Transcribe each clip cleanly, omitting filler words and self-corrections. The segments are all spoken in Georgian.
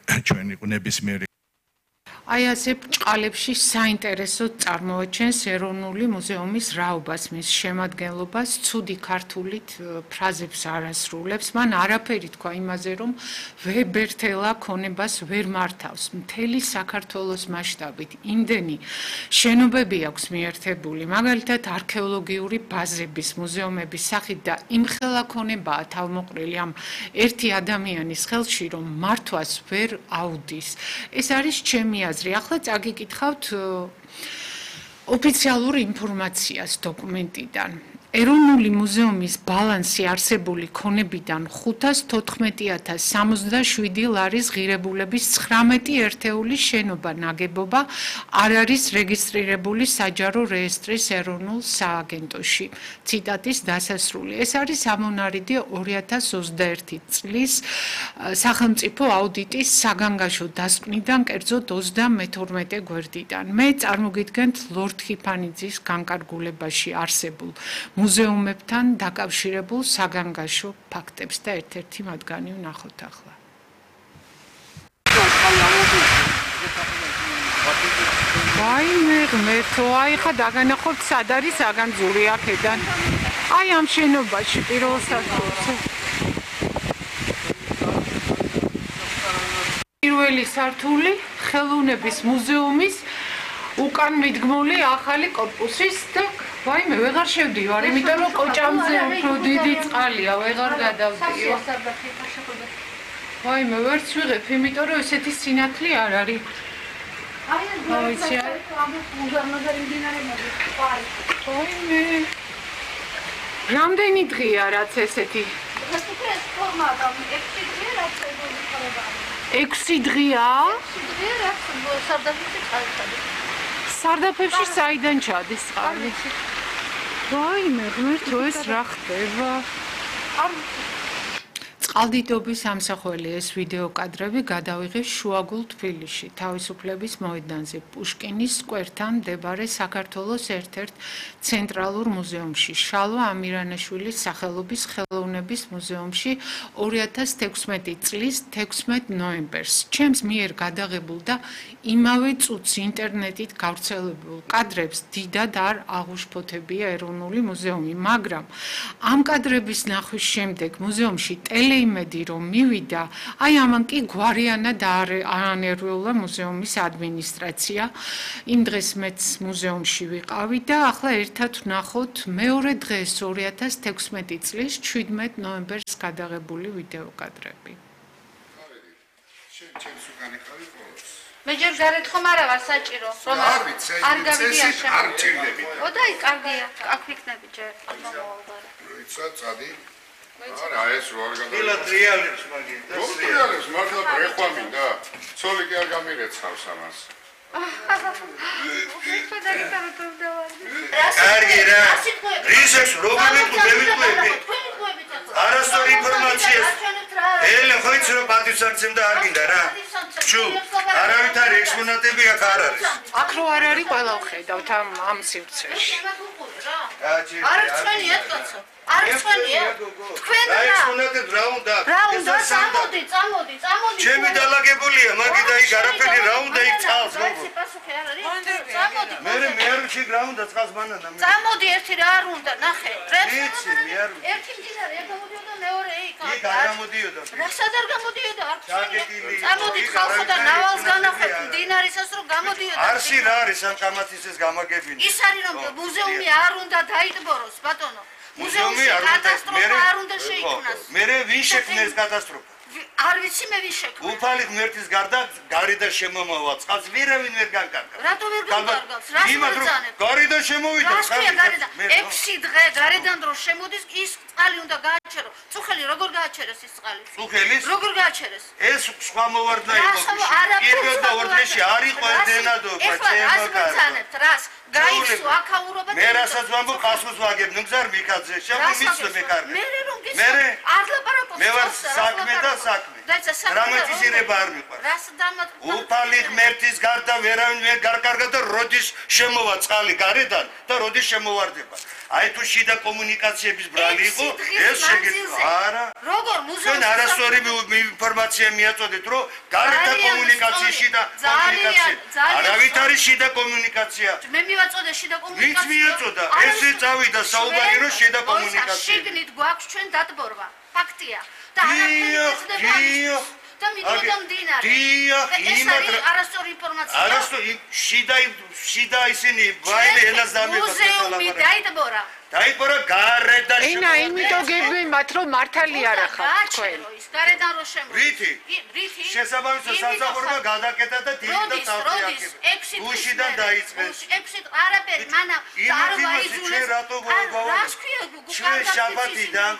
ჩვენი ნებისმიერი აი ასე ბრჭყალებში საინტერესო წარმოაჩენს ეროვნული მუზეუმის რაობას, მის შემადგენლობას, ცუდი ქართულით ფრაზებს არასრულებს. მან არაფერი თქვა იმაზე, რომ ვებერთელა ქონებას ვერ მართავს. მთელი საქართველოს მასშტაბით იმდენი შენობები აქვს მიერთებული, მაგალითად არქეოლოგიური ბაზების, მუზეუმების სახით და იმხელა ქონებაა თავმოყრილი ამ ერთი ადამიანის ხელში, რომ მართვას ვერ აუდის. ეს არის ჩემი ახლა წაგიკითხავთ ოფიციალურ ინფორმაციას დოკუმენტიდან. ეროვნული მუზეუმის ბალანსი არსებული ქონებიდან 514,067 ლარის ღირებულების 19 ერთეულის შენობა ნაგებობა არ არის რეგისტრირებული საჯარო რეესტრის ეროვნულ სააგენტოში. ციტატის დასასრული. ეს არის ამონარიდი 2021 წლის სახელმწიფო აუდიტის საგანგაშო დასკვნიდან, კერძოდ 32 გვერდიდან. მე წარმოგიდგენთ ლორდ ხიფანიძის განკარგულებაში არსებულ მუზეუმებთან დაკავშირებულ საგანგაშო ფაქტებს და ერთ-ერთი მათგანი ვნახოთ ახლა. ვაიმე ღმერთო, აი ხა დაგანახოთ სად არის საგანძური აქედან. აი ამ შენობაში პირველ სართულზე. პირველი სართული ხელოვნების მუზეუმის უკან მიდგმული ახალი კორპუსის და ვაიმე ვეღარ შევდივარ, იმიტომ რომ კოჭამზე უფრო დიდი წყალია, ვეღარ გადავდიო. ვაიმე ვერც ვიღებ, იმიტომ რომ ესეთი სინათლე არ არის. ვაიმე რამდენი დღეა რაც ესეთი? 6 დღეა? სარდაფებში საიდან ჩადის წყალი? ვაიმე ღმერთო, ეს რა ხდება? წყალდიდობის ამსახველი ეს ვიდეო კადრები გადავიღე შუაგულ თბილისში, თავისუფლების მოედანზე, პუშკინის სკვერთან მდებარე საქართველოს ერთ-ერთ ცენტრალურ მუზეუმში, შალვა ამირანაშვილის სახელობის ხელოვნების მუზეუმში 2016 წლის 16 ნოემბერს. ჩემს მიერ გადაღებულ და იმავე წუთს ინტერნეტით გავრცელებულ კადრებს დიდად არ აღუშფოთებია ეროვნული მუზეუმი, მაგრამ ამ კადრების ნახვის შემდეგ მუზეუმში იმედი რომ მივიდა, აი ამან კი გვარიანად აანერვიულა მუზეუმის ადმინისტრაცია. იმ დღეს მეც მუზეუმში ვიყავი და ახლა ერთად ვნახოთ მეორე დღეს 2016 წლის 17 ნოემბერს გადაღებული ვიდეო კადრები. მე ჯერ გარეთ ხომ არა ვარ საჭირო, რომ არ გავიდიან შემოგვიყვება. ოდაი კარგია, აქ ვიქნები ჯერ, მომავალ. იცი წადი არა ეს რო არ გადა ფილატრიალებს მაგინ და ფილატრიალებს მართლა ბრეხვა მინდა ცოლი კი არ გამირეცხავს ამას კარგი რა რისეს როგორ მეთქვი არასწორი ინფორმაციას ელე ხო იცი რომ პატივსაცემ და არ გინდა რა ჩუ არავით არ ექსპონატები აქ არ არის აქ რო არ არის ყველა ვხედავთ ამ სივრცეში არ ჩვენია კაცო არ ჩვენია თქვენ რა ექსპონატებს რა უნდა წამოდი ჩემი დალაგებულია მაგი და იქ არაფერი რა უნდა იქ წალს ეს პასუხი არ არის წამოდი მე არ ვიცი რა უნდა წალს მანანა წამოდი ერთი რა არ უნდა ნახე ვიცი მე არ ერთი მდინარე არ გამოდიოდა მეორე იქ არ გამოდიოდა რა სად არ გამოდიოდა არ ჩვენია წამოდი ხალხო და ნავალს განახებ მდინარისას რომ გამოდიოდა არსი რა არის ამ კამათისის გამაგებინა ის არის რომ მუზეუმი არ უნდა დაიდბოროს ბატონო მუზეუმი კატასტროფა არ უნდა შეიქმნას მე ვინ შექმნეს კატასტროფა არ ვიცი მე ვინ შექმნა უფალი ღმერთის გარდა გარედან შემომავა წყალს ვერავინ ვერ განკარგავს რატო ვერ განკარგავს რას მოძანებ გარედან შემოვიდა ხალხი გარედან 6 დღე გარედან დრო შემოდის ის წყალი უნდა გააჩერო წუხელი როგორ გააჩერეს ის წყალი წუხელის როგორ გააჩერეს ეს სხვა მოვარდნა იყო პირველ და ორ დღეში არ იყო ედენადობა ჩემო რას გაიხსო აქაურობა მე რასაც ვამბობ ხასოს ვაგებ ნუგზარ მიქაძე შემო მიცნე მე კარგი მე რომ გისმენთ არ ლაპარაკო მე ვარ საქმე და საქმე. დრამატიზირება არ მიყვარს. რას დამატ უფალი ღმერთის გარდა ვერავინ ვერ გარკარგა და როდის შემოვა წყალი გარედან და როდის შემოვარდება. აი თუ შიდა კომუნიკაციების ბრალი იყო, ეს შეგეძლო. არა. როგორ მუზეუმში არასწორი ინფორმაცია მიაწოდეთ, რომ გარეთ კომუნიკაცია შიდა კომუნიკაცია. არავით არის შიდა კომუნიკაცია. მე მივაწოდე შიდა კომუნიკაცია. ვინც მიაწოდა, ესე წავიდა საუბარი რომ შიდა კომუნიკაცია. შიგნით გვაქვს ჩვენ დატბორვა. ფაქტია. და არაფერი და მიდიოდა მდინარე. ეს არის არასწორი ინფორმაცია. არასწორი შიდა ისინი ვაიმე ენას დამეყვა. მუზეუმი დაიტბორა. დაიბორა გარედან ენა იმიტომ გებმათ რომ მართალი არ ახავთ თქვენ. გარედან რო შემო. რითი? რითი? შესაბამისად სამსახურება გადაკეტა და დილით წავიდა. გუშიდან დაიწყეს. 6 არაფერი, მანამ ჩვენ რატო ჩვენ შაბათიდან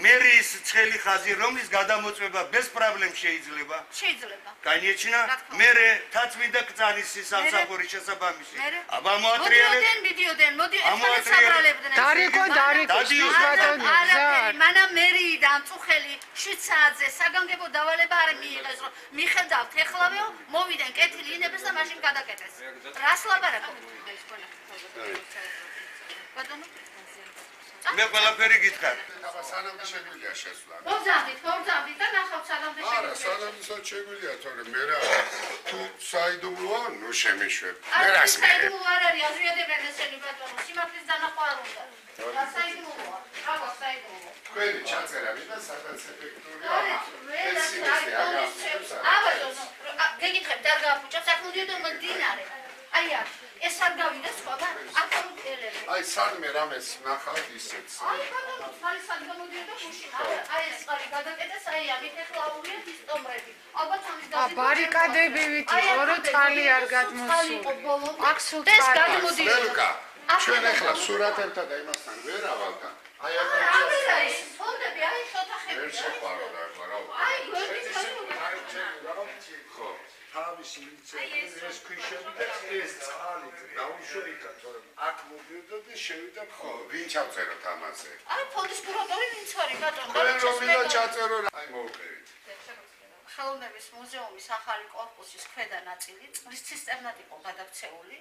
მერის ცხელი ხაზი რომლის გადამოწმება без პრობლემ შეიძლება. შეიძლება. განიეჩინა მერე თაცმინდა კწანის სამსახური შესაბამისი. აბა მოატრიალეთ. მოდიოდენ, ესპანეთსაბრალებდნენ. დარეკო არაფერი, მანამ მერიიდან წუხელი 7 საათზე საგანგებო დავალება არ მიიღეს, რომ მიხედავთ ეხლავეო, მოვიდნენ კეთილი ინებს და მაშინ გადაკეტეს. რას ლაბარაკობთ? ბატონო მე ყველაფერი გითხარ. სანამდე შეგვიძლია შესვლა. მოგზავნით და ნახავთ სანამდე არა, სანამდე შეგვიძლია, თორემ მე რა თუ საიდუმლოა, ნუ შემიშვებ. მე არა, რას მე? საიდუმლო არ არის, აზრიადებენ ესენი ბატონო, სიმართლის დანახვა არ უნდა. რა საიდუმლოა? რა საიდუმლოა? თქვენი ჩაწერა ვიდა სადაც ეფექტურია. გეკითხებთ, არ გააფუჭა, საკმოდიოდო მდინარე. აი ეს არ გავიდა სხვა და აკომპლექტელები. აი სადმე რამეს ნახავთ ისეც. აი ბატონო, ხალისად გამოდიოდა გუშინ. აი ეს წყალი გადაკეტეს, აი ამით ეხლაურია დისტომრები. ალბათ ამის გაზეთი. ბარიკადებივით იყო, რომ წყალი არ გადმოსული. აქ სულ ეს გადმოდიოდა. ველკა. ჩვენ ახლა სურათებთან და იმასთან ვერ ავალდა. აი აქ აი ფონდები, აი შოთახები. ვერ შეყარო და ახლა რა ვქნა. აი გვერდით ხო. თავისი ეს ქვიშები და ეს წყალი დაუშვებითად, თორემ აქ მოდიოდა და შევიდა ხო, ვინ ჩავწეროთ ამაზე? აი ფონდის კურატორი ვინც არის ბატონო? რომ ჩაწერო რა. აი მოვყევით. ხელოვნების მუზეუმის ახალი კორპუსის ქვედა ნაწილი წყლის ცისტერნად იყო გადაქცეული.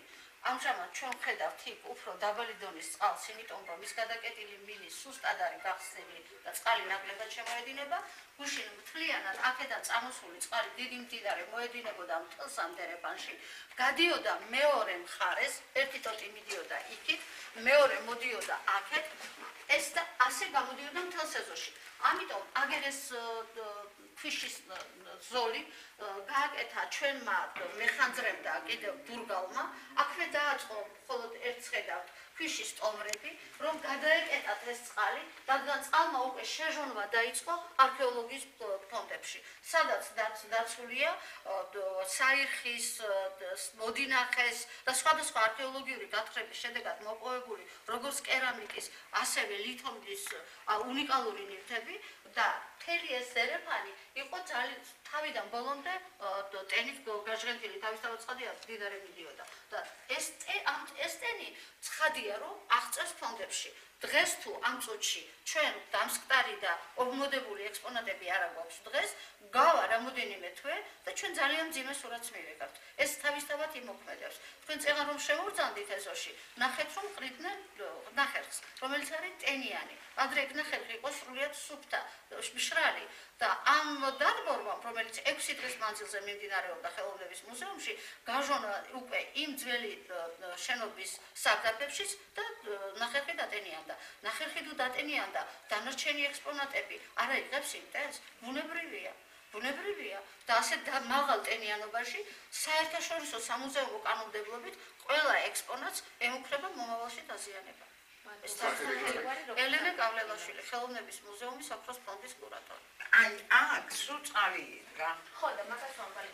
ამჟამად ჩვენ ხედავთ იქ უფრო დაბალი დონის წყალს, იმიტომ რომ ის გადაკეტილი მინის სუსტად არის გახსნილი და წყალი ნაკლებად შემოედინება. გუშინ მთლიანად აქედან წამოსული წყალი დიდი მდინარე მოედინებოდა მთელს ამ დერეპანში. გადიოდა მეორე მხარეს, ერთი ტოტი მიდიოდა იქით, მეორე მოდიოდა აქეთ, ეს და ასე გამოდიოდა მთელ სეზონში. ამიტომ აგერეს ქვიშის ზოლი გააკეთა ჩვენმა მეხანძრემ და კიდევ ბურგალმა, აქვე დააწყო მხოლოდ ერთ ხედავთ ქვიშის ტომრები, რომ გადაეკეტათ ეს წყალი, რადგან წყალმა უკვე შეჟონვა დაიწყო არქეოლოგიის ფონდებში, სადაც დაცულია საირხის, მოდინახეს და სხვადასხვა არქეოლოგიური გათხრების შედეგად მოპოვებული როგორც კერამიკის, ასევე ლითონის უნიკალური ნივთები და მთელი ეს დერეფანი იყო თავიდან ბოლომდე ტენით გაჟღენთილი, თავისთავად ცხადია მდინარე მიდიოდა და ეს ტენი ცხადია, რომ აღწევს ფონდებში. დღეს თუ ამ წუთში ჩვენ დამსკტარი და ობმოდებული ექსპონატები არ აქვს დღეს, გავა რამოდენიმე თვე და ჩვენ ძალიან მძიმე სურათს მივიღებთ. ეს თავისთავად იმოქმედებს. თქვენ წეღან რომ შემოვრძანდით ეზოში, ნახეთ რომ ყრიდნენ ნახერხს, რომელიც არის ტენიანი. ადრე ეგ ნახერხი იყო სრულიად სუფთა, მშრალი და ამ დარბორვამ, რომელიც 6 დღის მანძილზე მიმდინარეობდა ხელოვნების მუზეუმში, გაჟონა უკვე იმ ძველი შენობის სარდაფებშიც და ნახერხი დატენიანდა. ნახერხი თუ დატენიანდა, დანარჩენი ექსპონატები არა იღებს იმ ტენს, ბუნებრივია და ასე მაღალ ტენიანობაში საერთაშორისო სამუზეუმო კანონმდებლობით ყველა ექსპონატს ემუქრება მომავალში დაზიანება. ელენე კავლელაშვილი, ხელოვნების მუზეუმის ოქროს ფონდის კურატორი. აი, აქ სულ წყალი იდგა. ხო და მაგას ვამბობ.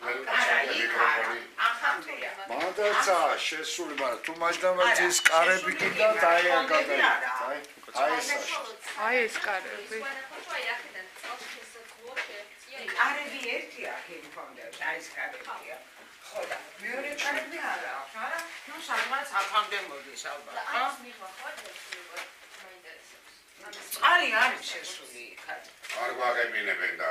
მანდაცა შესული, მაგრამ თუ მაჯდამაც ის კარები კიდათ აი აქ გადაიწყდა. აი ეს კარები. კარები ერთია აქ ფონდებში, აი ეს კარებია. ხო და მეორე კარები არა აქვს, არა? ნუ სადღაც აქამდე მოდის ალბათ, ხო? წყალი არის შესული იქ. არ გვაღებინებენ და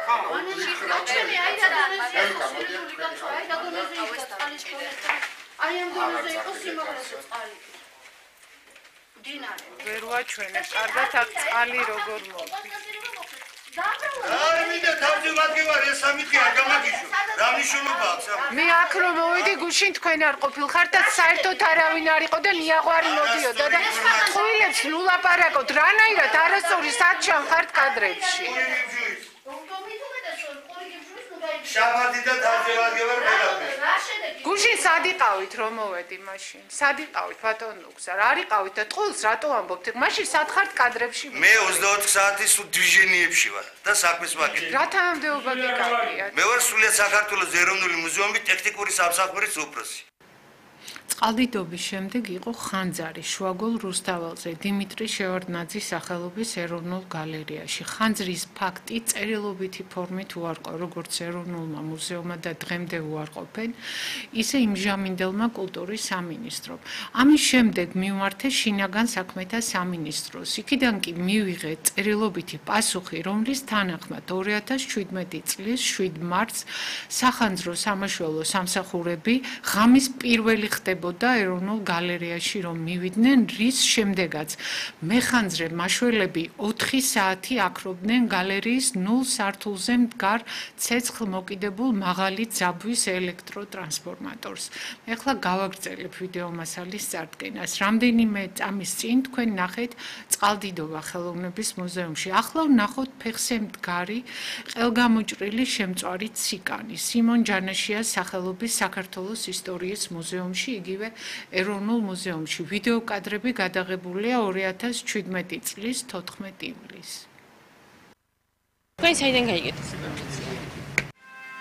აი ამ დონეზე იყო სიმაღლეზე წყალი. დინარე. ვერ ვაჩვენე, კარგად აქ წყალი როგორ მოდის. არ მინდა თავზე ვადგევარ ეს სამი დღე არ გამაგიშო. რა მნიშვნელობა აქვს ამ? მე აქ რომ მოვედი გუშინ თქვენ არ ყოფილხართ და საერთოდ არავინ არ იყო და ნიაღვარი მოდიოდა და ხვილებს ლულაპარაკოთ რანაირად არასწორი საჩვენ ხართ კადრებში. შაბათი და თავზე ვადგევარ ყველაფერს. გუშინ სად იყავით რომ მოვედი მაშინ? სად იყავით ბატონ ლუქსა? რა არ იყავით და ტყუილს რატო ამბობთ? მაშინ სად ხართ კადრებში? მე 24 საათის დვიჟენიებში ვარ და საქმეს ვაკეთებ. რა თანამდებობა გიკარგიათ? მე ვარ სრულიად საქართველოს ეროვნული მუზეუმის ტექნიკური სამსახურის უფროსი. წყალდიდობის შემდეგ იყო ხანძარი შუაგულ რუსთაველზე დიმიტრი შევარდნაძის სახელობის ეროვნულ გალერეაში. ხანძრის ფაქტი წერილობითი ფორმით უარყო როგორც ეროვნულმა მუზეუმმა და დღემდე უარყოფენ, ისე იმჟამინდელმა კულტურის სამინისტრომ. ამის შემდეგ მივმართე შინაგან საქმეთა სამინისტროს. იქიდან კი მივიღე წერილობითი პასუხი, რომლის თანახმად 2017 წლის 7 მარტს სახანძრო სამაშველო სამსახურები ღამის პირველი ხდებოდა ეროვნულ გალერეაში რომ მივიდნენ, რის შემდეგაც მეხანძრე მაშველები 4 საათი აქრობდნენ გალერეის 0 სართულზე მდგარ ცეცხლ მოკიდებულ მაღალი ძაბვის ელექტროტრანსფორმატორს. მე ახლა გავაგრძელებ ვიდეო მასალის წარდგენას. რამდენიმე წამის წინ თქვენ ნახეთ წყალდიდობა ხელოვნების მუზეუმში. ახლა ვნახოთ ფეხზე მდგარი ყელგამოჭრილი შემწვარი ციკანი სიმონ ჯანაშიას სახელობის საქართველოს ისტორიის მუზეუმში, იგივე ეროვნულ მუზეუმში. ვიდეო კადრები გადაღებულია 2017 წლის 14 ივლისს. თქვენ საიდან გაიგეთ?